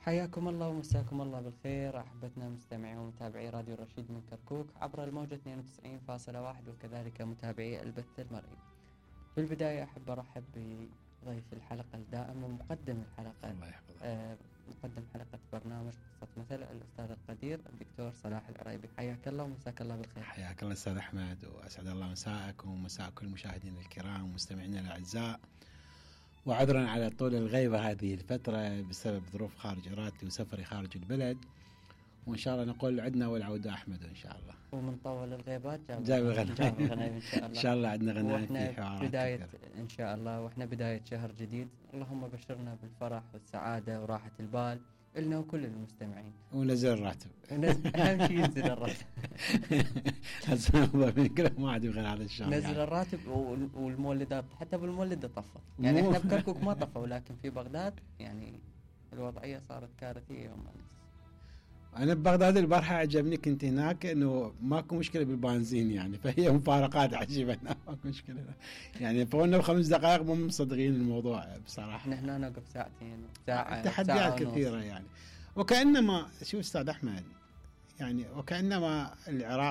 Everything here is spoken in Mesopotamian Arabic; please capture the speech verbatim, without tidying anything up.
حياكم الله ومساكم الله بالخير أحبتنا مستمعي ومتابعي راديو الرشيد من كركوك عبر الموجة اثنين وتسعين فاصلة واحد وكذلك متابعي البث المرئي. في البداية أحب أرحب بضيف الحلقة الدائم ومقدم الحلقة، الله يحفظك. آه مقدم حلقة برنامج قصة مثل الأستاذ القدير الدكتور صلاح العريبي. حياك الله ومساك الله بالخير. حياك الله أستاذ أحمد، وأسعد الله مساءكم ومساء كل المشاهدين الكرام ومستمعينا الأعزاء. وعذرا على طول الغيبة هذه الفترة بسبب ظروف خارج إرادتي وسفري خارج البلد، وإن شاء الله نقول عدنا والعودة أحمد إن شاء الله. ومن طول الغيبات جاب جاب غنايم إن شاء الله. إن شاء الله عندنا غنايم في حوارات بداية كثير. إن شاء الله، وإحنا بداية شهر جديد، اللهم بشرنا بالفرح والسعادة وراحة البال إلنا وكل المستمعين. ونزل الراتب. أهم شيء ينزل الراتب. هسه من كله ما عاد يبغى هذا الشهر. نزل يعني. الراتب والمولدات، حتى بالمولدة طفت. يعني إحنا بكركوك ما طفوا، ولكن في بغداد يعني الوضعية صارت كارثية يوم أمس. أنا ببغداد البارحة عجبني، كنت هناك إنه ماكو مشكلة بالبنزين يعني، فهي مفارقات عجيبة. ماكو مشكلة يعني، فقلنا بخمس دقائق مو مصدقين الموضوع بصراحة. نحن نوقف ساعتين ساعة تحديات كثيرة يعني، وكأنما شو أستاذ أحمد يعني، وكأنما العراق